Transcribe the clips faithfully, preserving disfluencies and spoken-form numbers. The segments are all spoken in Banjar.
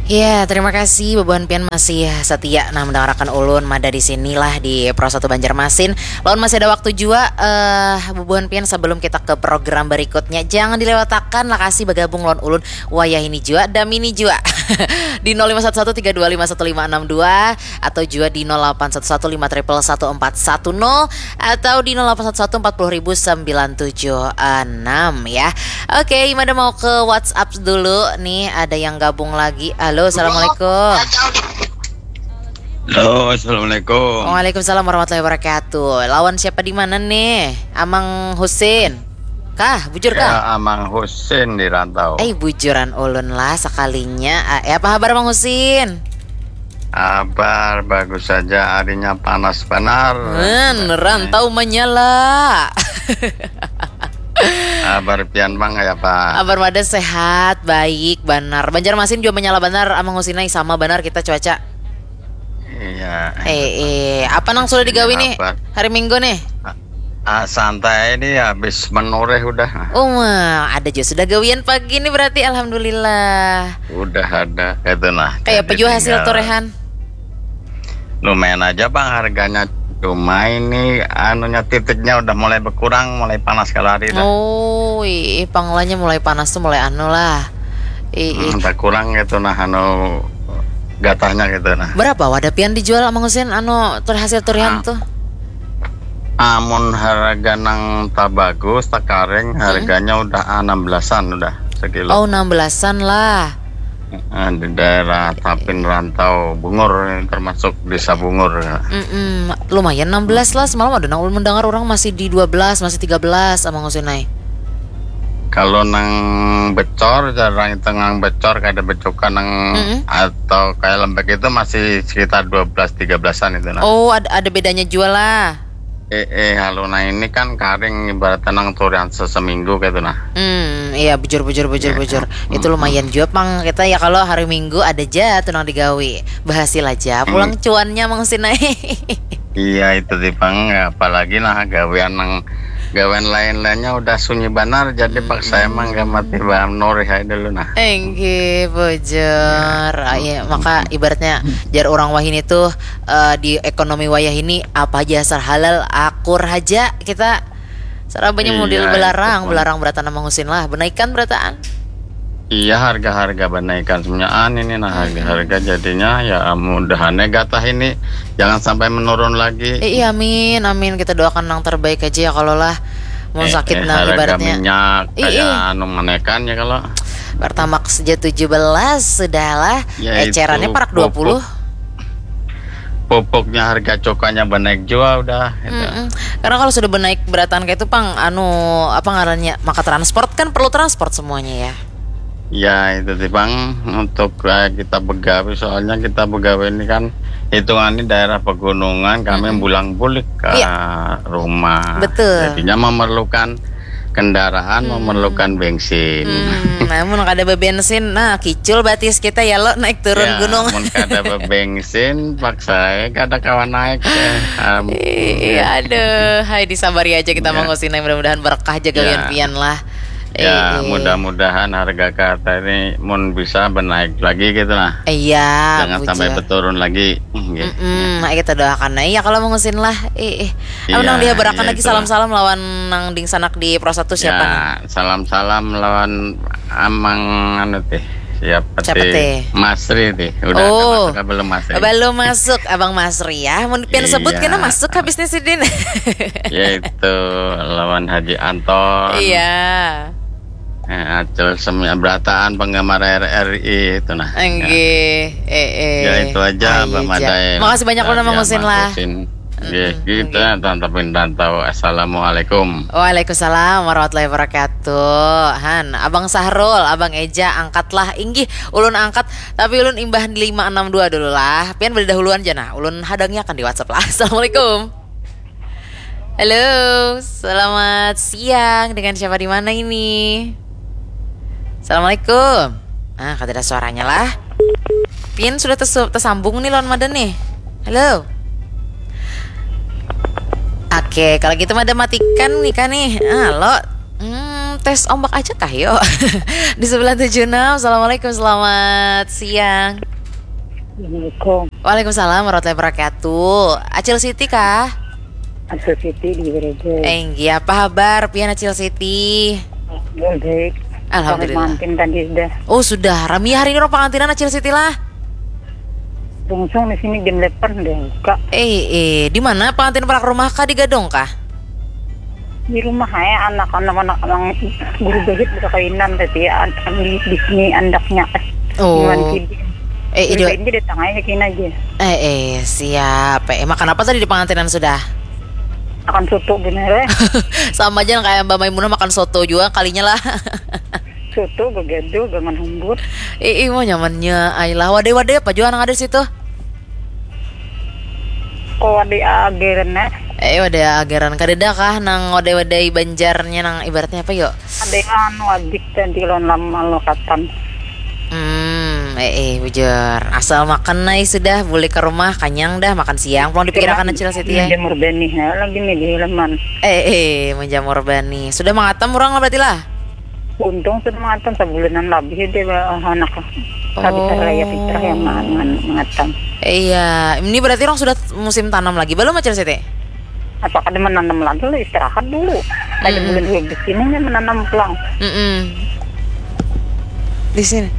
Ya, terima kasih bubuhan pian masih setia nah mendengarakan ulun mada di sini lah di Pro satu Banjarmasin. Lawan masih ada waktu jua, eh, bubuhan pian, sebelum kita ke program berikutnya, jangan dilewatakan, lakasi bagabung lawan ulun wayah ini jua, damini jua di nol lima satu satu tiga dua lima satu lima enam dua atau jua di nol delapan satu satu lima triple satu empat satu nol atau di nol delapan satu satu empat puluh ribu sembilan tujuh enam ya. Oke, Imada mau ke WhatsApp dulu nih, ada yang gabung lagi. Halo, assalamualaikum. Halo, assalamualaikum. Waalaikumsalam warahmatullahi wabarakatuh. Lawan siapa di mana nih? Amang Husin. Kah, bujur kah? Ya, Amang Husin di rantau. Eh, bujuran ulun lah sekalinya. Ah, eh, apa kabar Mang Husin? Kabar bagus saja, harinya panas banar. Hmm, rantau menyala. Kabar pian bang ya pak? Kabar mada sehat, baik, banar. Banjarmasin juga menyala banar, Amang Husin ai, sama banar kita cuaca. Iya. Eh, eh, apa nang sudah digawi nih Apa? Hari Minggu nih? Ah, santai ini habis menoreh udah. Oh, wah, ada juga sudah gawian pagi nih berarti, alhamdulillah. Udah ada itu nah. Kayak apa Jadi juga hasil tinggal torehan? Lumayan aja bang harganya. Cuma ini anunya titiknya udah mulai berkurang, mulai panas kalau hari dah. Oh, ih, panglanya mulai panas tuh mulai anu lah. Ih, ih. Hmm, berkurang gitu nah anu gatahnya gitu nah. Berapa wadah pian dijual Mang Husin anu tur hasil turian Ah. Tuh? Amun harga nang tabagus takareng harganya udah enam belasan udah sekilo. Oh, enam belasan lah. Ah, di daerah Tapin Rantau Bungur ini termasuk desa Bungur. Mm-mm. Lumayan enam belas lah, semalam ada nang ulun mendengar orang masih di dua belas, masih tiga belas Amang Husin ai. Kalau nang becor jarang itu nang becor kada becuka nang Mm-mm. atau kayak lembek itu masih sekitar dua belas tiga belasan itu nah. Oh, ada ada bedanya juga lah. Eh, eh, kalau nah ini kan karing ibaratnya nang turian seseminggu gitu nah. Hmm, iya bujur bujur bujur Iya. bujur. Itu lumayan juga pang kita ya kalau hari Minggu ada aja tuh nang digawi. Berhasil aja pulang cuannya Mang Husin ai. Iya itu sih bang, apalagi nah gawean nang gawean lain-lainnya udah sunyi banar jadi paksa emang gak mati bam norih aja dulu nah. Enggih, bujur. Ah, iya, maka ibaratnya jar orang wahini tuh eh, di ekonomi wayah ini apa aja asal halal akur aja kita sarabanya Iya, model itu belarang, pun. Belarang berataan Mang Husin lah, benaikan berataan. Iya harga-harga banaikan semuanya ini nah harga-harga jadinya ya mudahannya gatah ini jangan sampai menurun lagi. Eh, iya, amin, amin. Kita doakan yang terbaik aja ya kalau lah. Mau Eh, sakit eh, nah harga ibaratnya. minyak Ih, kayak ih. Anu menekan ya kalau Pertamax saja tujuh belas sudahlah. Ya, itu Ecerannya parak dua puluh. Pupuknya harga cukanya benaik juga udah gitu. Mm-mm. Karena kalau sudah benaik berataan kayak itu pang anu apa ngarannya maka transport kan perlu transport semuanya ya. Ya itu sih bang untuk eh, kita begawe soalnya kita begawe ini kan hitungannya daerah pegunungan kami Mm-mm. bulang bulik ke Iya. Rumah. Betul. Jadinya memerlukan kendaraan memerlukan bensin. Hmm, namun kada bebensin, nah kicul batis kita ya lo naik turun Ya, gunung. Mun kada bebensin, paksa kada kawan naik. Ya. Am, Iya, aduh, hai disabari aja kita Iya. Mang Husin, mudah-mudahan berkah aja gawian Iya. pian lah. ya, Eh, eh. Mudah-mudahan harga kata ini mun bisa benaik lagi gitu lah. Iya, Jangan sampai bujur. Beturun lagi. Hmm, gitu. Mm-mm, ayo kita doakan aja kalau Mang Husin lah. Eh, eh. Apa Iya, nang dihabarakan iya, lagi itulah. Salam-salam lawan nang dingsanak di Pro satu siapa Ya, nih? Salam-salam lawan Amang anu teh. Siapa, Siapa teh? Masri teh. Udah Oh. Ada masuk apa belum Masri? Belum masuk Abang Masri ya. Mun pian sebut Iya. Kena masuk habisnya sidin. Yaitu lawan Haji Anton. Iya. Eh, Acil semua berataan penggemar R R I itu nah. Enggih, eh eh. Ya, itu aja, Ayo Mbak ja. Madae. Makasih banyak Nah, Mang ya, Husin Mang lah. Husin. Nggih, Mm-mm, kita tantapin dan tahu. Assalamualaikum. Waalaikumsalam warahmatullahi wabarakatuh. Han, Abang Sahrul, Abang Eja, angkatlah. Inggih, ulun angkat, tapi ulun imbah lima enam dua dulu lah. Pian berdahuluan aja nah. Ulun hadangnya akan di WhatsApp lah. Assalamualaikum. Halo, selamat siang. Dengan siapa di mana ini? Assalamualaikum. Ah, kada ada suaranya lah. Pian sudah tersu- tersambung nih lawan Madan nih. Halo. Oke, kalau gitu Madan matikan nih kan nih. Ah, lo. Hmm, Tes ombak aja kah, yuk? Di sembilan tujuh enam, Assalamualaikum, selamat siang. Assalamualaikum. Waalaikumsalam warahmatullahi wabarakatuh. Acil Siti kah? Acil Siti di Gereja. Enggih, apa habar pian Acil Siti? Baik. Alhamdulillah. Pengantin tadi sudah. Oh, sudah. Rami hari ini orang pengantinan Acil Siti lah. Langsung di sini jam delapan deh buka. Eh, eh, di mana pengantin parak rumah kah, di Gadong kah? Di rumah ya, anak-anak, anak emang guru bahit berkainan tadi ya, an- di, di sini andaknya. Oh. Iwan Sidin. Eh, Jadi ido- ini datang aja kini aja. Eh, eh, siap. Eh, makan apa tadi di pengantinan sudah? Akan soto bener ya. Sama aja kayak Mbak Maimunah makan soto juga kalinya lah. Soto, begado, gangan humbur. Eh, eh, mau nyamannya. Ayolah, wadai-wadai apa juga nang ada situ? Kok ada ageran ya? Eh, wadai ageran kadeda kah nang wadai-wadai Banjarnya nang ibaratnya apa yuk? Ada yang anu adik tadi lawan lama lokatan. Hmm, eh, eh, bujur. Asal makan nai sudah, boleh ke rumah, kanyang dah, makan siang, pulang dipikirakan Acil Siti ya. Jamur benih ya, lagi nih di halaman. Eh, eh, menjamur bani. Sudah mangatam orang lah berarti lah? Untung sudah mangatam, sebulanan lebih dia anak. Habis Oh. Raya Fitrah yang mangan mangatam. Iya, ini berarti orang sudah musim tanam lagi, belum Acil Siti? Apa kada menanam lagi lah, istirahat dulu. Ada Mm-mm. Bulan dua belas ini nih menanam pulang. Mm-mm. Di sini.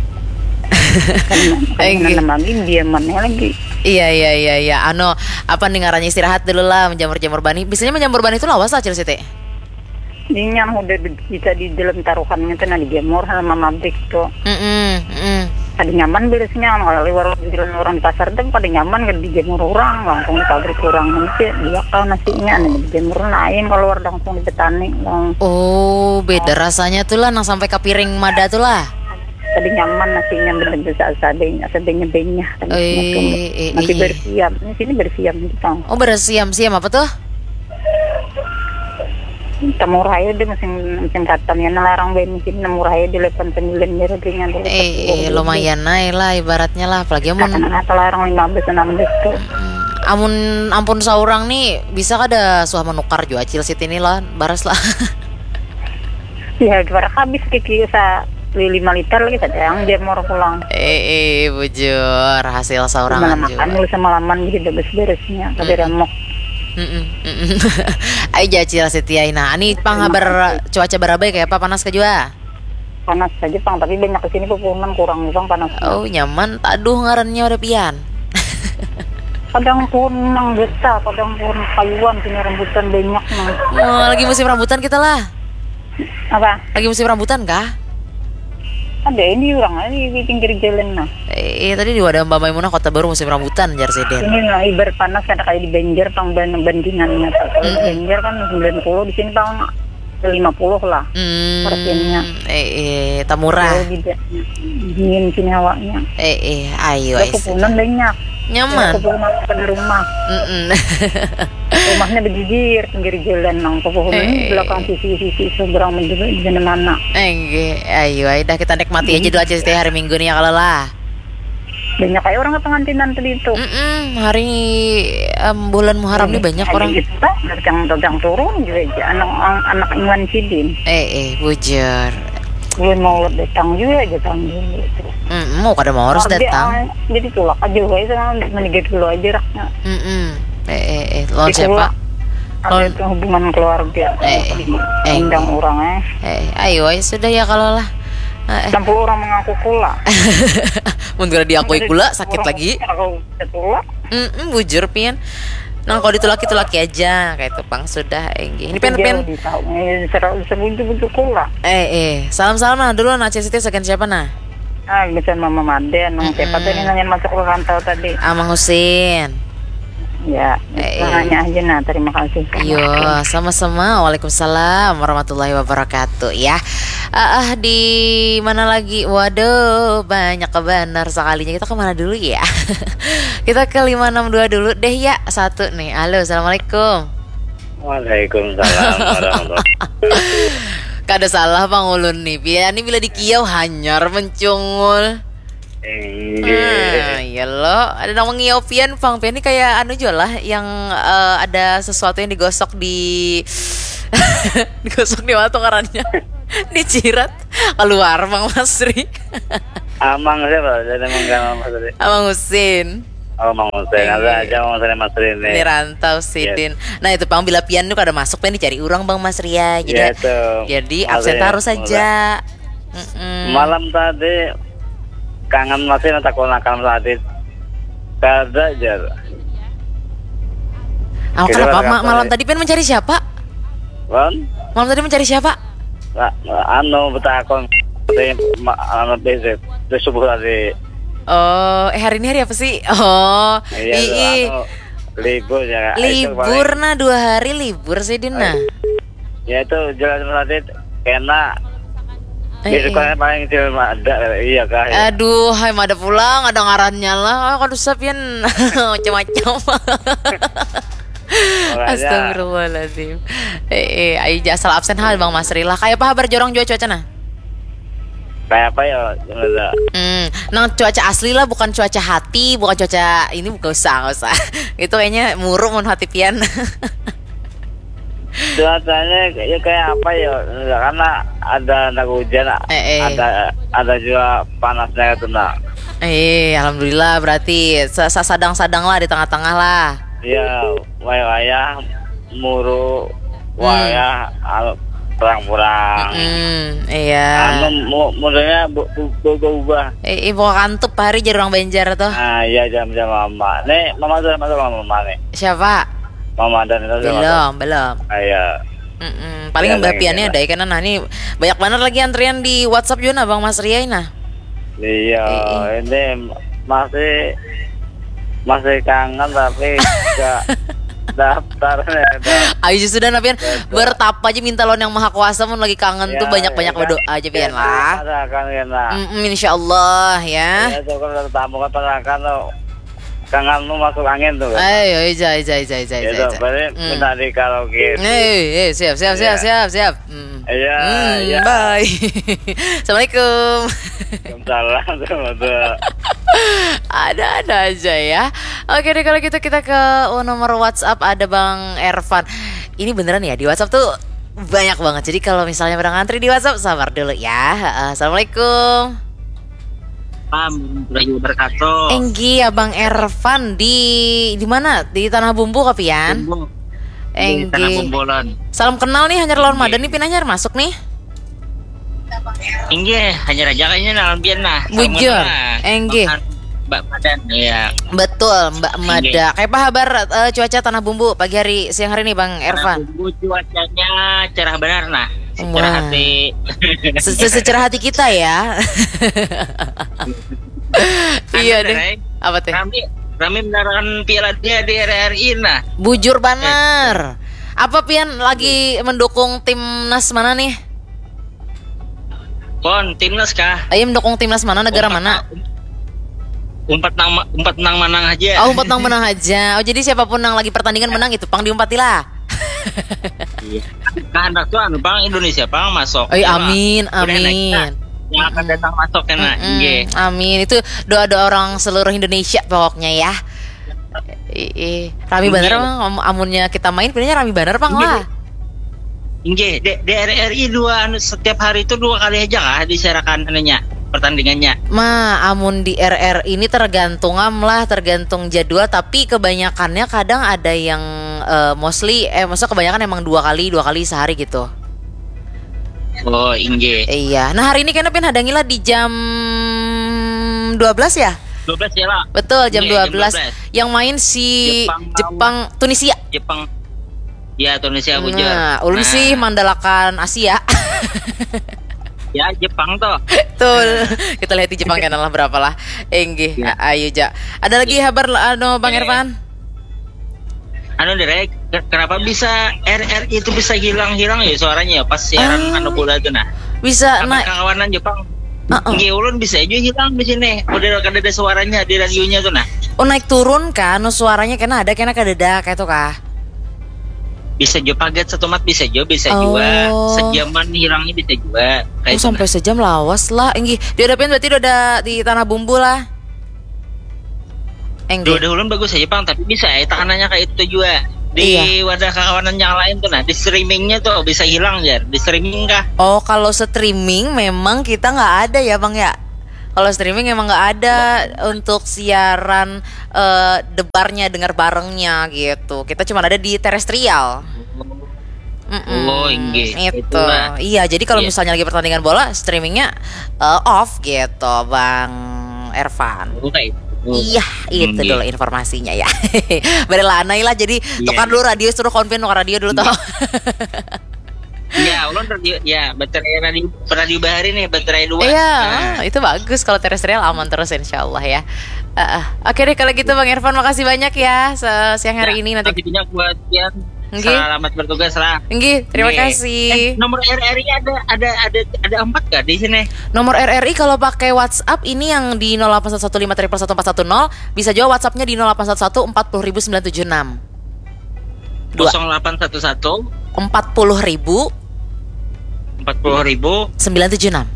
Kada Eh, menanam lagi, diamannya lagi. Iya, iya, iya, iya. Ano, apa nih ngarannya, istirahat dulu lah, menjamur-jamur bani. Biasanya menjamur bani itu lawas lah Acil Siti? Ini yang udah di- bisa di dalam taruhannya tuh, nah, dijemur sama mabrik tuh. Mm-mm, mm-mm. Kada nyaman beresnya kalau liwar orang di pasar tuh kada nyaman, kada dijemur orang, langsung di pabrik orang nanti diakal nasinya, nah, dijemur lain keluar langsung di petani, langsung. Oh, beda rasanya tuh lah, nang sampai ke piring mada tuh lah. Kada nyaman nasinya, bener bisa sadanya, sadanya banyak. Eh, eh, Masih eh. Bersiam, ini sini bersiam gitu. Oh, bersiam-siam apa tuh? Tamurah aja deh musim musim katam ya, larang banyak sini, murah aja di delapan sembilan ya harganya dulu. Eh, eh, lumayan naik lah ibaratnya lah, apalagi amun Karena larang lima belas enam belas tuh. Hmm, amun ampun seorang nih bisa kada suah menukar jua Acil Siti nih lah, baras lah. Ya, barang habis kiki sa beli lima liter lagi, ada yang jamur pulang. Eh, eh, bujur, hasil seorang Malam makan juga. Dulu semalaman gitu, beres-beresnya, kada Mm-mm. remok. Mm-mm, mm-mm. Ayo ja Acil Siti ai nah. Ani pang habar cuaca barabai kayak apa, panas ke jua? Panas saja pang, tapi banyak ke sini pepohonan kurang pang panas. Oh, nyaman. Taduh ngarannya udah pian. Kadang pohon nang getah, kadang pohon kayuan, sini rambutan banyak nang. Oh, lagi musim rambutan kita lah. Apa? Lagi musim rambutan kah? Ada ini orang ini di pinggir jalan nah. Eh, iya, tadi di wadah Mbak Maimunah Kota Baru musim rambutan, jar siden. Ini nah, ibar panas ada kayak di Banjar, pang ban- bandingannya tuh. Kalau di Mm-mm. Banjar kan sembilan puluh, di sini pang lima puluh lah. Hmm, Persennya. Eh, eh, tamurah. Jauh beda. Dingin sini hawanya. Eh, eh, ayo, Ada ayo. pepohonan banyak. Nyaman. Pepohonan pada rumah. Mm-mm. Rumahnya berjejer pinggir jalan nang pepohonan Eh. Belakang sisi-sisi seberang menjadi di mana. Enggih, ayo, ayo dah kita nikmati aja dulu aja setiap hari Minggu nih ya kalau lah. Banyak kayak orang pengantinan tadi itu. Mm-mm, hari em, bulan Muharram nih banyak orang. Kita dagang dagang turun juga aja anak anak Iwan Sidin. Eh, eh, bujur. Bulan Maulud datang juga aja tahun dulu itu. Mm, mau kada mau harus Tapi, datang. Ah, jadi tulak aja wae sama menigit dulu aja raknya. Mm-mm. Eh, eh, eh, lawan Di siapa? keluar- Ada Lawan itu hubungan keluarga. Eh, eh. Undang orang eh. Eh, ayo, ayo sudah ya kalau lah. Eh, eh. Sampai orang mengaku pula. Mun kada diakui pula sakit lagi. Aku pula. Mm-mm, bujur pian. Nang kau ditulaki tulaki aja kayak itu pang sudah enggih. Ini pian pian. Di tahu eh, seru sebuju buju pula. Eh, eh, salam salam nah dulu nah Acil Siti sagan siapa nah? Ah, bisa mama Made, nang siapa Mm-mm. tadi nanya masuk ke rantau tadi? Amang Husin. Ya, Eh, nanya aja nah, terima kasih. Yo, sama-sama. Waalaikumsalam warahmatullahi wabarakatuh ya. Ah, ah, di mana lagi? Waduh, banyak kebenar sekalinya. Kita kemana dulu ya? Kita ke lima enam dua dulu deh ya. Satu nih. Halo, assalamualaikum. Waalaikumsalam warahmatullahi Kada salah pang ulun nih. Pian ini bila dikiau hanyar mencungul. Inggih. Ah, iya lo. Ada nang mengiau pian pang. Pian ini kayak anu juga lah yang eh, ada sesuatu yang digosok di digosok di mana tuh ngarannya? Dicirat keluar Bang Masri. Amang siapa? Jadi Amang Gamal Mas tadi. Abang Husin. Oh, Mang Husin. Ada aja Mang Husin Mas Rini. Di rantau sidin. Nah, itu pang bila pian tuh kada masuk, pian dicari urang Bang Masri ya. Jadi Ya, itu. jadi Masih absen terus muda. Saja. Mm-mm. Malam tadi kangen masih, takut nakal masih Adit. Kada jar. Oh, Kita kenapa pada ma- kapan malam ya? Tadi pian mencari siapa? Kan? Malam tadi mencari siapa? Nah, anu betakon di ma- anu besok di subuh tadi. Oh, eh hari ini hari apa sih? Oh, Iya, ii. Anu, libur ya. Itu Libur paling- nah, dua hari libur sih Din nah. Ya itu jelas berarti kena. Eh, Besok eh. Kan paling cuma ada, iya kah? Ya. Aduh, hai mada pulang ada ngarannya lah. Ah, kada usah pian macam-macam. Makanya, Astagfirullahaladzim. Eh, eh, ayo ja asal absen hal Bang Masri lah. Kayak apa kabar jorong jua cuaca nah? Kayak apa ya? Sebenarnya. Hmm, nang cuaca asli lah, bukan cuaca hati, bukan cuaca ini, bukan usah, nggak usah. Itu kayaknya muruk mun hati pian. Cuacanya ya kayak apa ya? Karena ada anak hujan, Eh, eh. ada ada juga panasnya itu nah. Eh, alhamdulillah berarti se- se- sadang-sadang lah di tengah-tengah lah. Ya, wayah-wayah muru, wayah al- perang-perang. Hmm, iya. Anu mu- modelnya bu- bu- berubah-ubah. Eh, eh, buka kantup hari jadi orang Banjar tuh. Nah, iya jam-jam mama. Nih, mama sudah masuk sama mama nih. Siapa? Mama dan itu sudah Belum, belum. Masuk. Ah, iya. Mm-mm. Paling Ya, mbak lagi piannya kena. Ada karena nah ini banyak banget lagi antrian di WhatsApp juga nah Bang Mas Riai nah. Iya, Eh, eh. Ini masih masih kangen tapi nggak daftar nih. Dah. Ayo sudah nah pian Betul. Bertapa aja minta lawan yang maha kuasa mun lagi kangen tuh Ya, banyak-banyak ya, berdoa kan? aja pian Ya, lah. Ada kan kena. Mm-mm, insya Allah ya. Ya itu kan tamu kan pernah kan tuh kangenmu masuk angin tuh kan. Ayo, ija, ija, ija, ija, ija, Itu ija. berarti Hmm. Minta di karaoke. Eh, eh, siap, siap, siap, Iya. siap, siap. Hmm. Iya, Hmm, iya. Bye. Assalamualaikum. Salam tuh tuh. Ada-ada aja ya. Oke deh kalau gitu kita ke oh, nomor WhatsApp ada Bang Ervan. Ini beneran ya di WhatsApp tuh banyak banget. Jadi kalau misalnya pada ngantri di WhatsApp sabar dulu ya. Heeh, Assalamualaikum. Salam warahmatullahi wabarakatuh. Enggi Abang Ervan di di mana? Di Tanah Bumbu kapian? Bumbu. Di Tanah Enggi. Bumbulan. Salam kenal nih hanyar lawan Enggi. Madan nih pin hanyar masuk nih. Inggih, hanyar aja kayaknya nalam pian nah. Bujur, Sama lah. Enggi. Makan Mbak Madan, ya. Betul, Mbak Enggi. Mada. Kayak apa kabar eh, cuaca Tanah Bumbu pagi hari siang hari ini Bang Ervan? Bumbu cuacanya cerah benar nah. Secara Wah. Hati. Se- se- Secerah hati kita ya. Iya Anu, deh. Reng. Apa teh? Rami rami menarakan piala dia di R R I nah. Bujur banar. Apa pian lagi mendukung timnas mana nih? Pon, timnas kah? Ayo mendukung timnas mana negara mana? Umpat nang umpat nang manang aja. Oh, umpat nang menang aja. Oh, jadi siapapun yang lagi pertandingan menang itu pang diumpati lah. Iya. Nah, anak tuh anu pang Indonesia pang masuk. Oi, Iya, amin, Bang. Udah next, amin. nah. Yang akan datang masuk kena. Mm-mm, Iya. Amin. Itu doa-doa orang seluruh Indonesia pokoknya ya. Ih, rami bener emang am- amunnya kita main pinanya rami bener pang lah. Inggih, D- DRRI dua anu setiap hari itu dua kali aja kah disiarakan anunya pertandingannya. Ma, amun di R R ini tergantung am lah, tergantung jadwal. Tapi kebanyakannya kadang ada yang eh, mostly, eh maksudnya kebanyakan emang dua kali, dua kali sehari gitu. Oh, inggih. Iya. Nah hari ini kena pin hadangi lah di jam dua belas ya? Dua belas ya lah. Betul jam Iya, dua jam belas. dua belas. Yang main si Jepang Jepang, Tunisia. Jepang. Ya, Tunisia bujur. Nah, ulun sih mandalakan Asia. Ya, Jepang tuh. Betul. Kita lihat di Jepang kena lah berapa lah. Enggih, Iya. a- ayo ja. Ada lagi kabar anu Bang Iya. Ervan? Anu direk, ke- kenapa bisa RRI itu bisa hilang-hilang ya suaranya ya pas siaran Ah. anu bola itu nah. Bisa Apa naik. Kawanan Jepang? Heeh. Nggih, ulun bisa aja hilang di sini. Udah kada ada suaranya di radionya tuh nah. Oh naik turun kan, anu suaranya kena ada kena kadada kayak itu kah? Bisa juga paget satu mat bisa juga, bisa Oh. juga. Sejaman hilangnya bisa juga. Oh Kayak itu sampai nah. Sejam lawas lah. Enggih, di ada pian berarti udah di Tanah Bumbu lah. Enggih. Dua ulun bagus aja pang, tapi bisa ya tahanannya kayak itu juga. Di wadah kakawanan yang lain tuh, nah, di streamingnya tuh bisa hilang, Jar. Di streaming kah? Oh, kalau streaming memang kita nggak ada ya, Bang, ya. Kalau streaming emang nggak ada untuk siaran eh, debarnya, dengar barengnya gitu. Kita cuma ada di terestrial. Oh, inggih. Itu. Itulah. Iya, jadi kalau misalnya lagi pertandingan bola, streamingnya eh, off gitu, Bang Ervan. Oh, kayak itu. Iya, itu Inggih. Dulu informasinya ya. Bari lanai lah, jadi Iya. Tukar dulu radio, suruh konfin tukar radio dulu toh. Ya, ulun radio, ya, baterai radio, radio bahari nih, baterai dua. Iya, Nah, itu bagus kalau terestrial, aman terus insya Allah ya. Heeh. Oke deh, kalau gitu Bang Ervan, makasih banyak ya se- siang hari ya, ini. Nanti makasih banyak buat Yan. Nggih. Selamat bertugas lah. Nggih, terima Nggih. kasih. Eh, nomor R R I ada ada ada ada empat gak di sini? Nomor R R I kalau pakai WhatsApp ini yang di nol delapan satu satu lima triple satu empat satu nol, bisa juga WhatsAppnya di nol delapan satu satu empat puluh ribu sembilan tujuh enam. Dua. Kosong delapan satu satu Empat puluh ribu empat puluh ribu sembilan tujuh enam.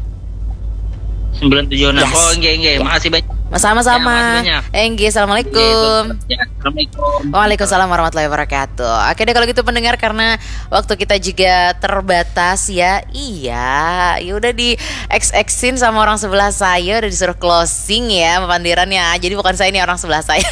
sembilan tujuh enam. Yes. Oh, enggak, enggak. Ya. Makasih banyak. Sama-sama. Ya, makasih banyak. Enggih, assalamualaikum. Ya, assalamualaikum. Waalaikumsalam warahmatullahi wabarakatuh. Oke deh, kalau gitu pendengar, karena waktu kita juga terbatas ya. Iya, ya udah di X X-in sama orang sebelah saya, udah disuruh closing ya, pandiran ya. Jadi bukan saya, ini orang sebelah saya.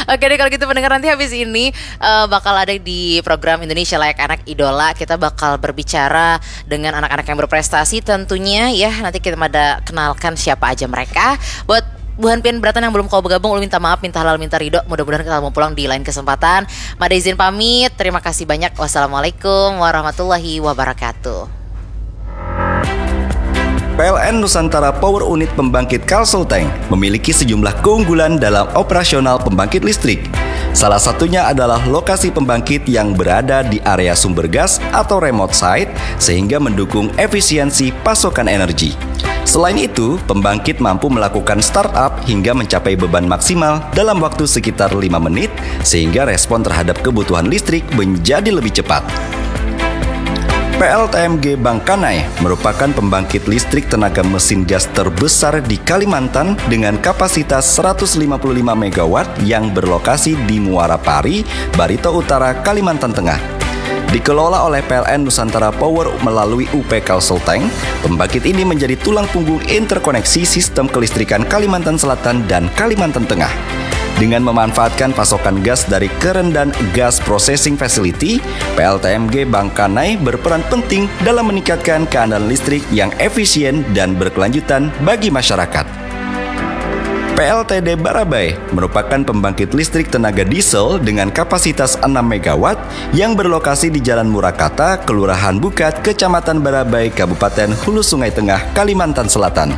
Oke deh, kalau gitu pendengar, nanti habis ini eh, bakal ada di program Indonesia Layak Anak Idola, kita bakal berbicara dengan anak-anak yang berprestasi tentunya ya. Nanti kita pada kenalkan siapa aja mereka. Buat buhan pian beratan yang belum kawa bergabung, ulun minta maaf, minta halal, minta ridho. Mudah-mudahan kita mau pulang di lain kesempatan. Mada izin pamit. Terima kasih banyak. Wassalamualaikum warahmatullahi wabarakatuh. P L N Nusantara Power Unit Pembangkit Kalsel Tank memiliki sejumlah keunggulan dalam operasional pembangkit listrik. Salah satunya adalah lokasi pembangkit yang berada di area sumber gas atau remote site, sehingga mendukung efisiensi pasokan energi. Selain itu, pembangkit mampu melakukan startup hingga mencapai beban maksimal dalam waktu sekitar lima menit, sehingga respon terhadap kebutuhan listrik menjadi lebih cepat. P L T M G Bangkanai merupakan pembangkit listrik tenaga mesin gas terbesar di Kalimantan dengan kapasitas seratus lima puluh lima megawatt yang berlokasi di Muara Pari, Barito Utara, Kalimantan Tengah. Dikelola oleh P L N Nusantara Power melalui U P Kalsel Tank, pembangkit ini menjadi tulang punggung interkoneksi sistem kelistrikan Kalimantan Selatan dan Kalimantan Tengah. Dengan memanfaatkan pasokan gas dari Kerendan Gas Processing Facility, P L T M G Bangkanai berperan penting dalam meningkatkan keandalan listrik yang efisien dan berkelanjutan bagi masyarakat. P L T D Barabai merupakan pembangkit listrik tenaga diesel dengan kapasitas enam megawatt yang berlokasi di Jalan Murakata, Kelurahan Bukat, Kecamatan Barabai, Kabupaten Hulu Sungai Tengah, Kalimantan Selatan.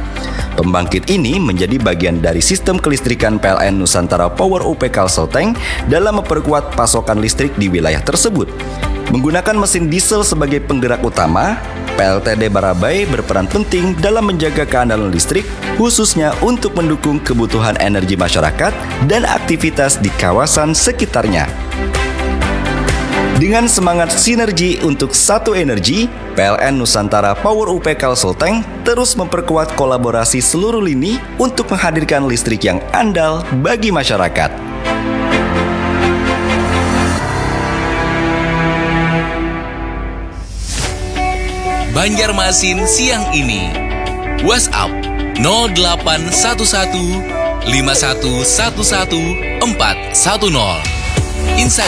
Pembangkit ini menjadi bagian dari sistem kelistrikan P L N Nusantara Power U P Kalsel Tank dalam memperkuat pasokan listrik di wilayah tersebut. Menggunakan mesin diesel sebagai penggerak utama, P L T D Barabai berperan penting dalam menjaga keandalan listrik, khususnya untuk mendukung kebutuhan energi masyarakat dan aktivitas di kawasan sekitarnya. Dengan semangat sinergi untuk satu energi, P L N Nusantara Power U P Kalsel Tank terus memperkuat kolaborasi seluruh lini untuk menghadirkan listrik yang andal bagi masyarakat. Banjarmasin siang ini. WhatsApp nol delapan satu satu lima satu satu satu empat satu nol. Instagram